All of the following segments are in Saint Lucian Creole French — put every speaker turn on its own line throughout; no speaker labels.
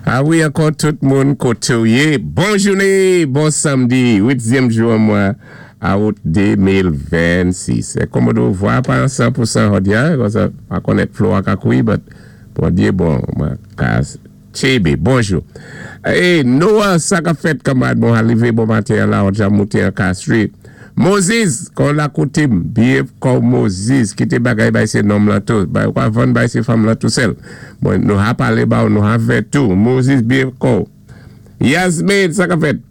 A wi, ankò tout moun, koté ou yé. Bon jouné, bon sanmdi, uitzyèm jou an mwa awout 2026. Kòmòdo vwa pa an 100% jòdi-a, konsa pa konnèt flo a ka koui, but Bondyé bon, mwen ka tchébé. Bonjou. É Noah, sa k-ap fèt, kanmarad? Bon alivé bon maten la, ou dja mouté an Castries. Moses, kon la koté-m, byen kòw Moses, kité bagay bay sé nonm lan tou, bay ou pa vann bay sé fanm lan tou sèl. Bon, nou ha palé ba ou, nou ha fè tou. Moses, byen kòw. Yasmine, sa k-ap fèt?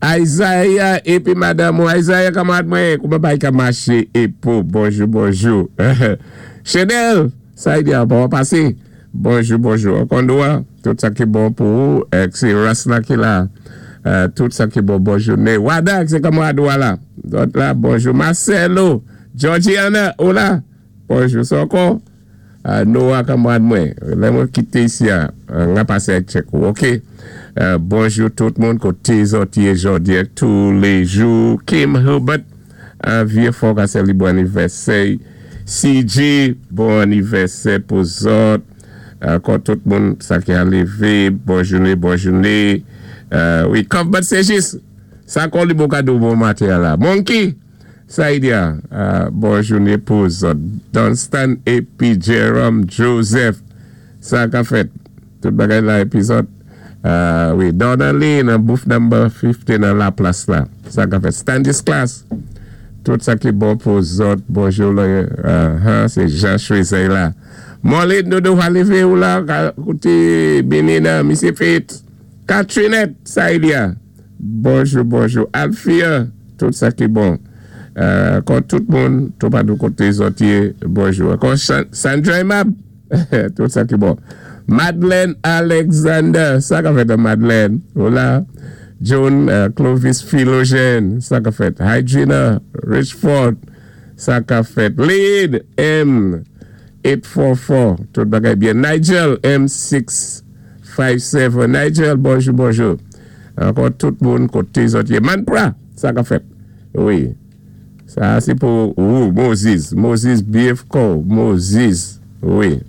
Isaiah épi madanm ou Isaiah kanmarad mwen, kouman bagay ka maché épo? Bonjou, bonjou. Chanel, sa y di a pa pasé. Bonjou, bonjou. Ankò Noah, tout sa ki bon pou ou, èk sé Russ la ki la. Tout sa ki bon, bon jouné. Wada, sé kanmarad ou a la. Dòt la, bonjou. Marcelo, Georgiana, ou la? Bonjou. Sa ankò? Noah kanmarad mwen, lè mwen kité isi a, m-a pasé ak tchèk ou, ok? Bonjou tout moun, koté zòt yé jòdi ak tou lé jou. Kim Hubert, an vyé fò ka sè li bon anivèsè. CJ, bon anivèsè pou zòt. Ankò tout moun sa ki a lévé, bon jouné, bon jouné. Wi, Cuthbert Ségis, sa ankò li bon kado bon maten an la. Monkey, sa y di a, bon jouné pou zòt. Dunstan épi Jerome Joseph, sa ka fèt? Tout bagay la épi zòt. Wi, Donnelly nan booth number 50 nan la plas la. Sa ka fèt? Stanislas, tout sa ki bon pou zòt. Bonjou la, sé Jean Choisey la. Molly Dodo va lévé ou la, koté Bini nan, Misye Fitz. Katrinette, sa y di a. Bonjou, bonjou. Alfia, tout sa ki bon. Ankò tout moun, tou patou koté zòt yé, bonjou. Ankò Sandra Aimable, tout sa ki bon. Madeleine Alexander, sa ka fèt Madeleine? Ou la? John Clovis Philogène, sa ka fèt? Hydrina Richford, sa ka fèt? Lead M 844, tout bagay byen. Nigel M657, Nigel, bonjou, bonjou. Ankò tout moun koté zòt yé. Manpra, sa ka fèt? Wi. Sa sé pou ou, Moses. Moses BFK, Moses. Wi.